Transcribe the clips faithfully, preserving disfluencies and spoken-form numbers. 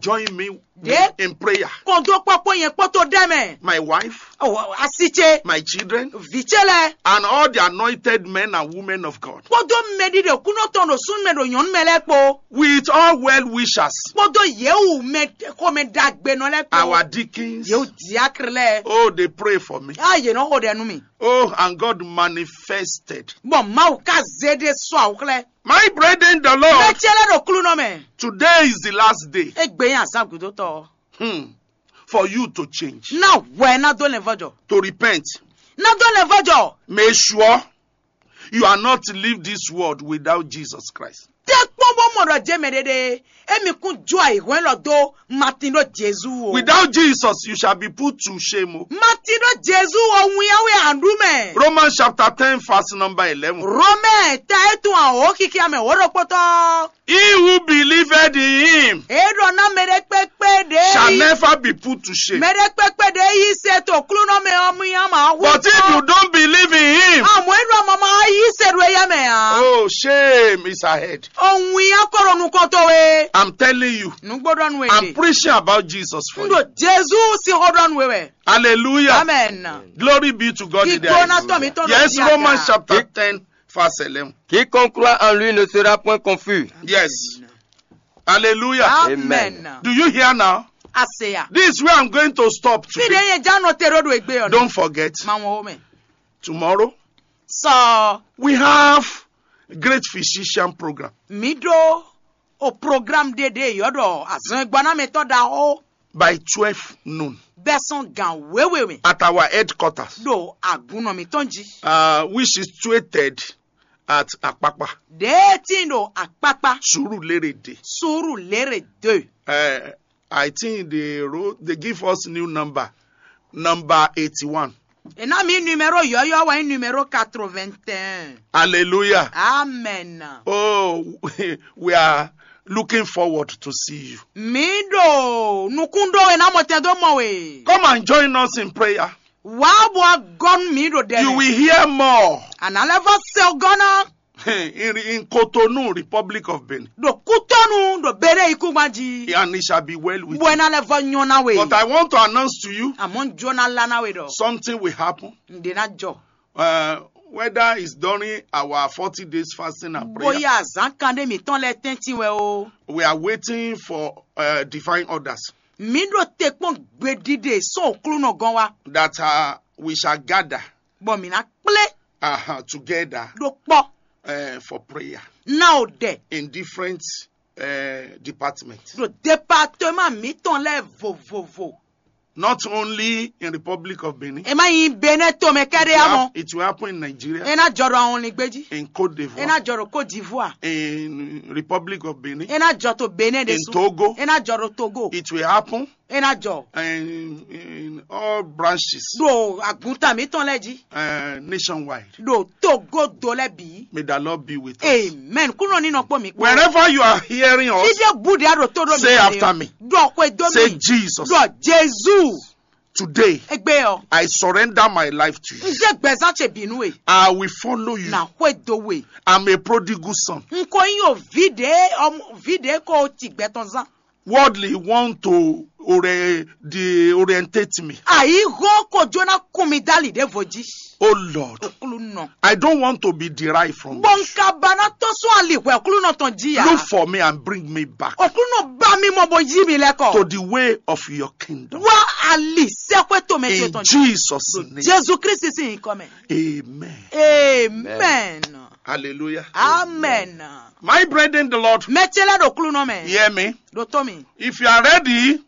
Join me Ɖe- in prayer. Kɔn dó kpɔ́kpɔ́ nyɛ kpótó ɖɛ mɛ. My wife, Oh, asi ce, my children, vǐ ce lɛ, and all the anointed men and women of God. Kpódó mɛɖiɖe kúnɔ tɔn ɖo súnmɛ ɖo nyɔ̌nu mɛ lɛ́ɛ kpó. With all well wishers, Kpódó yěwu mɛ xomɛ ɖagbenɔ lɛ́ɛ kpó. Our deacons, Yěwu diákre lɛ́ɛ. Oh, they pray for me. A yě nɔ xo ɖɛ nú mi. Oh, and God manifested. Bɔ Mawu ka zé ɖé sɔ́ awuxlɛ́. My brethren, the Lord, Mɛ ce lɛ́ɛ ɖo klúnɔ mɛ. Today is the last day. Égbé yín azán gǔdótɔ. Hmm. For you to change, Ná hwɛ ná dó lɛnvɔ́jɔ. To repent. Ná dó lɛnvɔ́jɔ. Make sure you are not leave this world without Jesus Christ. Tɛ kpɔ́n bó mɔ ɖɔ jɛ mɛ ɖeɖe émi kún jó ayǐhɔ́n élɔ́ dó Matin ɖó Jezu o. Without Jesus, you shall be put to shame. O. Matin ɖó Jezu o, winyawe àndú mɛ. Romans chapter ten, verse number eleven. Romɛ ta e tún àwòrán kíkí amɛ wǒ ɖokpótɔ. He who believed in him, E ɖɔ ná mɛ ɖé kpékpé ɖě shall yi never be put to shame. Mɛ ɖé kpékpé ɖě yi se to klúnɔ mɛ ɔ́ mú yá mǎ hu. But if you don't believe in him, Àmọ́ e ɖɔ mama yi se ɖo éyá mɛ ǎ. Oh, shame is ahead. Ohun ya kɔ ɖo nukɔn towe. I'm telling you, Nugbo ɖɔ nu I'm ede. Preaching about Jesus for N you. Ɖo Jezu si xɔ ɖɔ nu wɛ. Hallelujah. Amen. Glory be to God in the Igbó ná tọ̀ mí highest. Tọ̀ Yes, lọ sí Romans àga. Chapter ten, verse eleven. Quiconque croit en lui ne sera point confus. Yes. Hallelujah. Amen. Do you hear now? Aseya. This is where I'm going to stop Fi de today. Ye ja nɔ te ɖo ɖo egbe ɔ. Don't forget, Ma wɔn o mɛ. Tomorrow Sɔ we have great physician program mi ɖo o program ɖe ɖe yɔ ɖɔ azɔn egbanamɛtɔ ɖaxó by twelve noon bɛsɔn gan wewe mɛ at our headquarters, ɖo agunnɔ mitɔn ji. Uh, which is situated at Akpakpa, Ɖe tin ɖo akpakpa Surulere Day. Suru lere de. Uh, I think they wrote, they give us new number, number eighty-one. E ná mi numéro yɔyɔ wɛ nyí numéro quatre-vingt-un. Hallelujah. Amen. Oh, we are looking forward to see you. Mi ɖo nukún ɖó we ná mɔ tɛn dó mɔ we. Come and join us in prayer. Wá bɔ agɔnu mi ɖo ɖɛ. You will hear more. Àná lɛ vɔ se gɔna. In, in Cotonou, Republic of Benin. Ɖo kútɔnu ɖo bere ikúngban ji. And it shall be well with Bɔ you. Ena lɛ vɔ nyɔ na we. But I want to announce to you Àmọ́ n jó ná lá ná we ɖɔ. Something will happen. N ɖe ná jɔ. Uh, whether it's during our forty days fasting and prayer, Bóyá azán kan ɖé mítɔn lɛ tɛ́ntin wɛ o. We are waiting for uh, divine orders. Mi ɖo te kpɔn gbeɖiɖe sɔn òklúnɔ gɔn wa. That uh, we shall gather Bɔ mi ná kplé uh, together ɖo kpɔ uh, for prayer ná o ɖɛ in different uh, departments. Ɖo département mítɔn lɛ vovovo. Not only in Republic of Benin. E má yin Benin to mɛ kɛɖe It will amɔ. Hap- it will happen in Nigeria, E ná jɔ ɖo àwọn olùgbé jí. In Cote E d'Ivoire, ná jɔ ɖo Côte d'Ivoire. In Republic of Benin, E ná jɔ to Benin de In su. Togo. E ná jɔ ɖo Togo. It will happen E ná jɔ. In, in all branches. Ɖo àgùntàn mítɔn lɛ jí. Uh, nationwide. Ɖo Togo do lɛ bǐ. May the Lord be with us. Amen. Kúnɔ nínú pọ̀ mí kpó. Wherever you are hearing us, Fídíò búdìá ɖo tó ɖo say after me. Ɖɔ xwe dó Say mi. Jesus. Ɖɔ Jésù. Today, Egbe ɔ. I surrender my life to you. N zé gbɛzán ce bínú e. I will follow you. Na xwe dó we. I'm a prodigal son. N ko nyí o ví ɖě ɔmɔ ví ɖě ko ti gbɛtɔn zán. Worldly want to ore- de orientate me. Àyíhó kò jóná kún mi dálì ɖěvo jí. Oh Lord, Òkúlù nɔ. I don't want to be derived from Bɔ you. N ka ba ná tɔ́n sún ali hwɛ òkúlù nɔ tɔn jí ya. Look for me and bring me back. Òkúlù nɔ bá mi mɔ bó yí mi lɛ́kɔ. To the way of your kingdom. Wá ali sẹ́kpẹ́ tó mɛ tó In tɔn jí. Jesus' name. Jésù Kristi sì ń kọ́ mẹ́. Amen. Amen. Hallelujah. Amen. My brethren in the Lord, Mɛ ce lɛ ɖo òkúlù nɔ mɛ. Hear me. Ɖo tó mi. If you are ready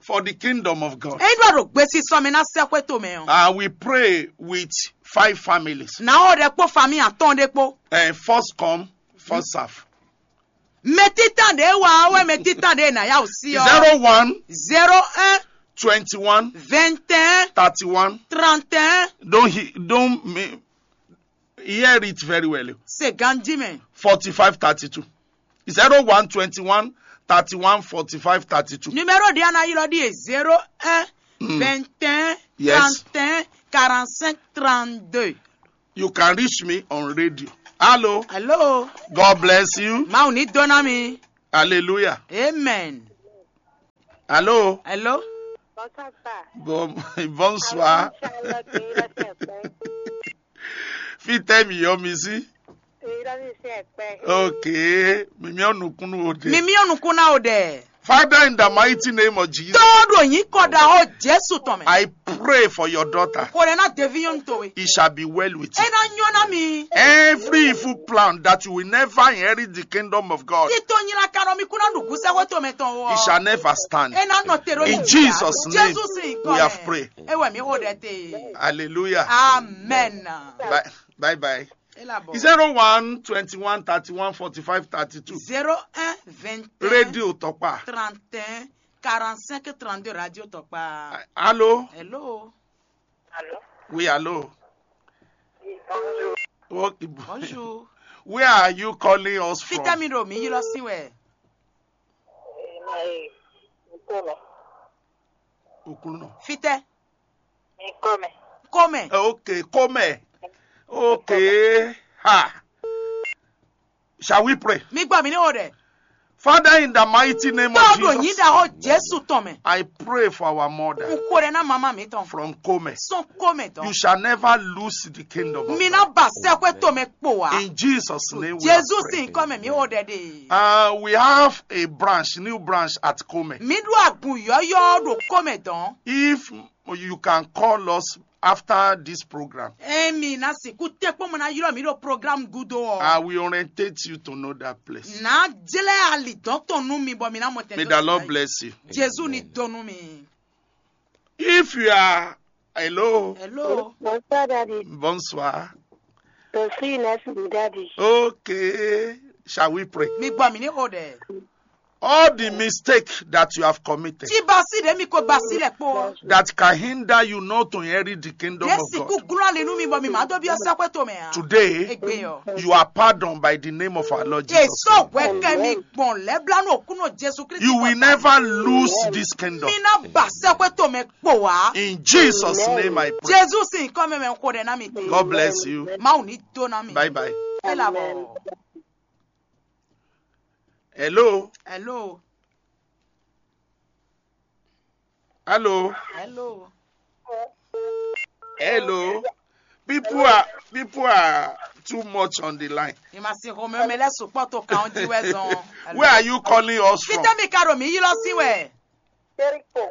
for the kingdom of God, Eyi ɖɔ ɖo gbesi sɔmi ná sɛxwe to mɛ ɔ. Uh, we pray with five families. Na o ɖe kpó fami atɔn ɖe kpó. Uh, first come, first serve. Mɛ títàn ɖe wà wɛ mɛ títàn ɖe nà yà wò sí ɔ. Zero one, Zero un, twenty-one, vingt et un, thirty-one, trente et un. Don't he, don't me, hear it very well. Se ganji mɛ. Forty-five thirty-two. Zero one twenty-one thirty-one forty-five thirty-two. Numéro ɖe ana yi lɔ ɖi ye zero un, Mm. vingt et un, Yes. trente et un, quarante-cinq, trente-deux. You can reach me on radio. Hello. Hello. God bless you. Mawu ní dó ná mi. Hallelujah. Amen. Allô? Hello? Bon, bonsoir. Fitɛ mi yɔ mi si. Ok. Mi mi ɔnu kunu o de. Mi mi ɔnu kuna o de. Father, in the mighty name of Jesus. Todo yin koda ho Jesu tɔn mɛ. I pray for your daughter. Kore na devi yɔn to we. It shall be well with you. Ena nyona mi. Every evil plan that you will never inherit the kingdom of God. Tito nyina kano mi kuna nugu se ho to me ton o. It shall never stand. Ena no tero. In Jesus' name, Jesus in we have prayed. Ewe mi ho de te. Hallelujah. Amen. Bye bye. Elabo. Zero one twenty one thirty one forty five thirty two. Zéro un vingt et un. Radio Tokpa. Trente et un quarante cinq trente deux Radio Tokpa. Allô? Hello. Allô? Oui, allô. Oui, bonjour. Okay. Bonjour. Where are you calling us from? Fitami do mi yilo sin we. Eh, my, Nkome. Okuluno. Fitɛ. Nkome. Kome. Okay, come. Okay. Ha. Shall we pray? Mi gbɔ mi ní o dɛ. Father, in the mighty name of Tɔɔdɔ yín Jesus, da hɔ Jésù tɔn mɛ. I pray for our mother N ko dɛ ná mama mi tɔn. From Kome. Sɔn Kome tɔn. You shall never lose the kingdom of Mi God. Ná ba sɛkwe tɔn mɛ kpo wa. In Jesus' name, we Jésù are praying. Sin kɔ mɛ mi o dɛ de. Uh, we have a branch, new branch at Kome. Mi ɖo agun yɔyɔ ɖo Kome dɔn. If you can call us after this program, Emi na siku tɛ kpɔmɔ na yɔrɔ mi ɖo programme gudo I ɔ. will orientate you to know that place. Na jlɛ ali dɔn tɔn nu mi bɔ mi na mɔ tɛ. May the Lord bless you. Jésù ni dɔn nu mi. If you are, hello, Bonsoir, Daddy. Bonsoir. Je suis Inès Daddy. Okay, shall we pray? Mi gbɔ mi ní o dɛ. All the mistake that you have committed Tí ba si ɖe mi ko ba si lɛ kpo. That can hinder you not to inherit the kingdom Ɖe of siku God. Gúlɔ ali nu mi bɔ mi ma dɔ bi ɔsɛ kwe to mɛ a. Today, Egbe yɔ. You are pardoned by the name of our Lord Jesus. Èso wɛ kɛ mi gbɔn lɛ bla nu òkúnɔ Jésù Kristi. You will never lose this kingdom. Mi ná ba sɛkwe to mɛ kpo wa. In Jesus' name I pray. Jésù sin kɔ mɛ mɛ ko dɛ na mi te. God bless you. Mawu ni do na mi. Bye bye. E la bɔ. Hello. Hello. Hello. Hello. Hello. People are people are too much on the line. Ìmọ̀ sí Romeo mɛ lɛ sùpọ̀ tó kàn jí wẹ́ zɔn. Where are you calling us from? Fitẹ́ mi ka ɖo mi yí lɔ sí wɛ. Jericho.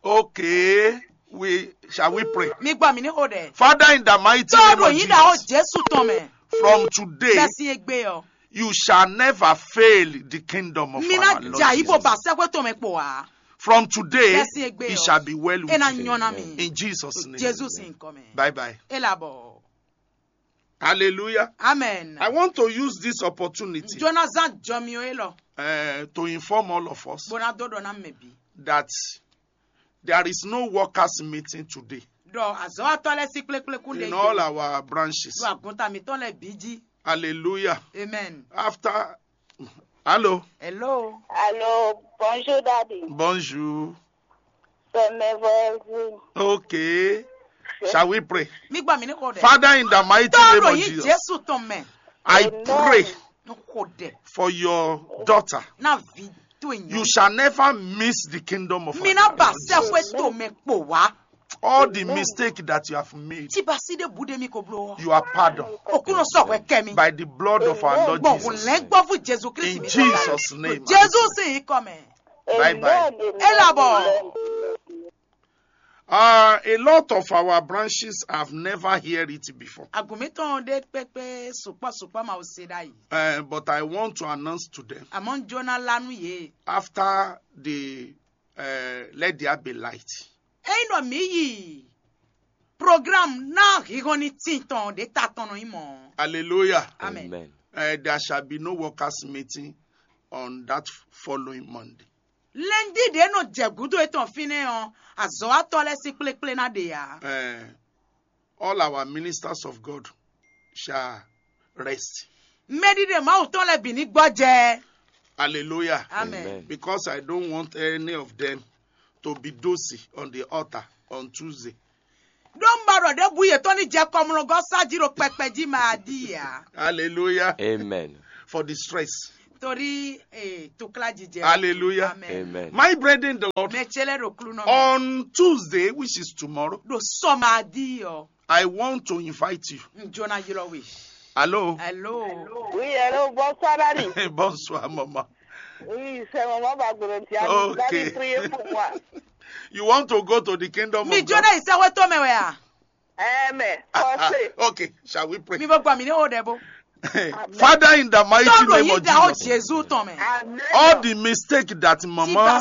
Okay. We shall we pray? Mi gbọ́ mi ní o dɛ. Father, in the mighty Tó name ɖo of yín dá o Jesus, Jésù tɔn mɛ. From today, Bẹ́ẹ̀ sí egbe ɔ. You shall never fail the kingdom of Mi our ná Lord jà yí bó Jesus. Ba sẹ́kwe tó mɛ kpò wá. From today, Bẹ́ẹ̀ sí egbe it ɔ. shall be well with E na you. nyɔ na mi. In Jesus' name. Jésù sì ń kọ́ mɛ. Bye bye. E la bɔ. Hallelujah. Amen. I want to use this opportunity Jonathan jɔ mi o e lɔ. uh, to inform all of us Bona dó dɔ na mɛ bi. That there is no workers' meeting today Dɔ azɔwatɔ lɛ sí kplekplekun de in all our branches. Dɔ agunta mi tɔn lɛ bi jí. Hallelujah. Amen. After, hello, Hello. Allô, bonjour, Daddy. Bonjour. C'est merveilleux. Okay. Shall we pray? Mi gbọ́ mi ní kò dɛ. Father, in the mighty Tó name ɖo of yín Jesus, Jésù tɔn mɛ. I pray N kò dɛ. For your daughter. Na vi tó yín. You shall never miss the kingdom of Mi our ná ba Lord Jesus. sẹ́kwe tó mɛ kpò wá. All the mistake that you have made, Tí ba sí de bu de mi kò blo. You are pardoned Òkúnɔ sọ̀kọ̀ kẹ́ mi. By the blood of our Lord Gbọ̀ngùn Jesus. lẹ́ gbọ́ fún Jésù Kristi In mi. Jesus' name. Jésù sì ń kọ́ mɛ. Bye bye. Amen, E la bɔ. amen. Uh, a lot of our branches have never heard it before. Àgùnmítàn dé pépé sùpọ̀ sùpọ̀ máa ṣe dá yìí. Uh, but I want to announce to them Àmọ́ ń jóná lánú yìí. After the uh, Let There Be Light. Eyín nɔ mí yìí. Program náà híhán ní tìtàn dé ta tɔnà yín mọ́. Hallelujah. Amen. Amen. Uh, there shall be no workers' meeting on that following Monday. Lẹ́ndí dé nɔ jẹ̀gúdó ètò fínẹ́ ɔn. Àzọ́ atọ́ lẹ́ sí kplékplé ná ɖe yá. Uh, all our ministers of God shall rest. Mɛɖiɖe Mawu tɔn lɛ bǐ ní gbɔjɛ. Hallelujah. Amen. Amen. Because I don't want any of them to be dozy on the altar on Tuesday. Ɖó un ba ɖɔ ɖěbǔ yětɔn ní jɛ kɔmlɔgɔ́ sájí ɖo kpɛkpɛ jí mɛ aɖí yá. Hallelujah. Amen. For the stress. Torí eh, tukla jijɛ. Hallelujah. Amen. Amen. My brethren in the Lord, mɛ cɛ lɛ ɖo klunɔ mɛ. On Tuesday, which is tomorrow, ɖo sɔmadi ɔ. I want to invite you. N jona ylɔ we. Hello. Hello. Oui, hello, bonsoir, Daddy. Bonsoir, maman. Oui, c'est maman Bagboro. Okay. Daddy, priez pour moi. You want to go to the kingdom mi of God? Jona ìsẹ́wé tó mɛ wɛ a. Amen. Ah, ah, okay, shall we pray? Mi bɔ gbà mí ní o dẹ bó. Father, in the mighty name of Jesus, Jésù tán mɛ. All the mistake that mama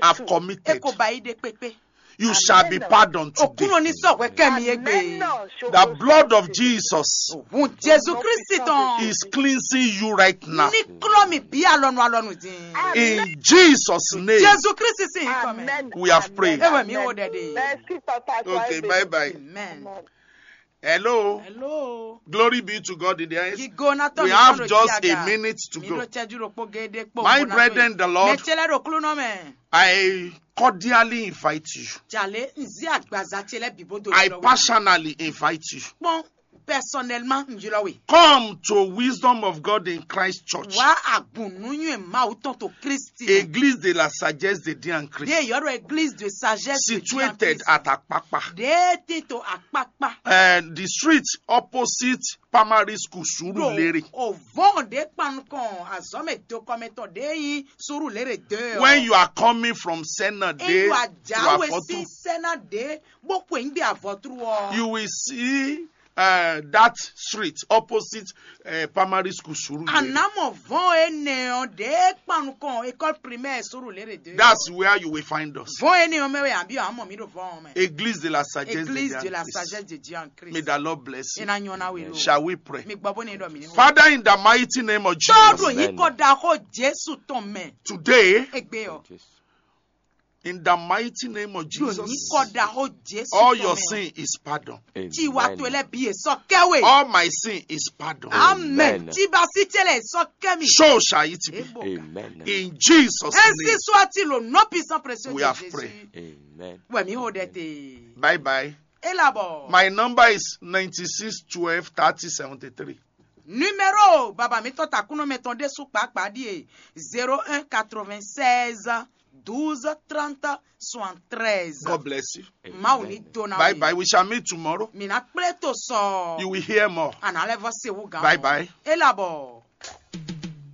have committed, e kò bá yí dé pépé. You shall be pardoned today. Òkúrò ní sọ̀wẹ́ kẹ́mi yé gbé. The blood of Jesus Òun Jésù Kristi tán. Is cleansing you right now. Ní kúlọ̀ mi bí alọ́nu alọ́nu dín. In Jesus' name, Jésù Kristi sì ń kọ́ mẹ́. We have prayed. Ewé mi ò dẹ̀ dé. Merci, Papa. Okay, bye bye. Amen. Hello. Hello. Glory be to God in the highest. Gígó náà tọ́ We mi have sọ́dọ̀ just tí a a ga. Minute to Mi go. Ló tẹ́jú ro pó gédé pó. My brethren in the Lord, mɛ tẹ́lẹ̀ ro kúlú náà mẹ́. I cordially invite you. Jàlé ń zí àgbàzá tẹ́lẹ̀ bìbó do I lọ́wọ́. Personally invite you. Pọ́n personnellement ń yọlọ wè. Come to Wisdom of God in Christ Church. Wá àgùnnúyún ẹ̀ máa wú tán tó Kristi. Église de la sagesse de Dieu en Christ. Dé yọ̀rọ̀ église de sagesse de Dieu en Christ. Situated at Akpakpa. Dé tito Akpakpa. Uh, the street opposite primary school Surulere. Òvọ́n dé kpanukɔn azɔmɛ dokɔmɛtɔ dé yi Surulere dé ɔ. When you are coming from Senna Dé to Afɔtu, Sena dé bó kwe ń gbé avɔtru ɔ. You will see uh, that street opposite uh, primary school Surulere. Anamọ vɔn enɛ ɔ dé kpanukɔn école primaire Surulere dé. That's where you will find us. Vɔn enɛ ɔ mɛ wɛ àbí àmọ́ mi ɖo vɔn mɛ. Église de la sagesse de Dieu en Christ. Église de la sagesse de Dieu en Christ. May the Lord bless you. Ina nyɔna we lo. Shall we pray? Mi gbɔ bó ne dɔ mi ni. Father, in the mighty name of Jesus. Tɔɔdun yìí kɔ da xɔ Jésù tɔn mɛ. Today, egbe ɔ. In the mighty name of Jesus, all your sin is pardoned. Tiwa to lɛ bi esɔ kɛwe. All my sin is pardoned. Amen. Tiba si tse lɛ esɔ kɛmi. So shall it be. Amen. In Jesus' name, ainsi soit-il au nom puissant précieux de Jésus. We have prayed. Amen. Wɛ mi ho dɛ te. Bye bye. Elabɔ. My number is ninety-six twelve thirty seventy-three. Numéro baba mi tɔn takunɔ mɛ tɔn ɖésú kpakpa ɖíe zéro un quatre-vingt-seize douze trente soixante-treize. God bless you. Mawu ní dó ná. Bye bye. We shall meet tomorrow. Mi ná kplé to sɔ. You will hear more. Àná lɛ vɔ se wú gan. Bye bye. Elabɔ.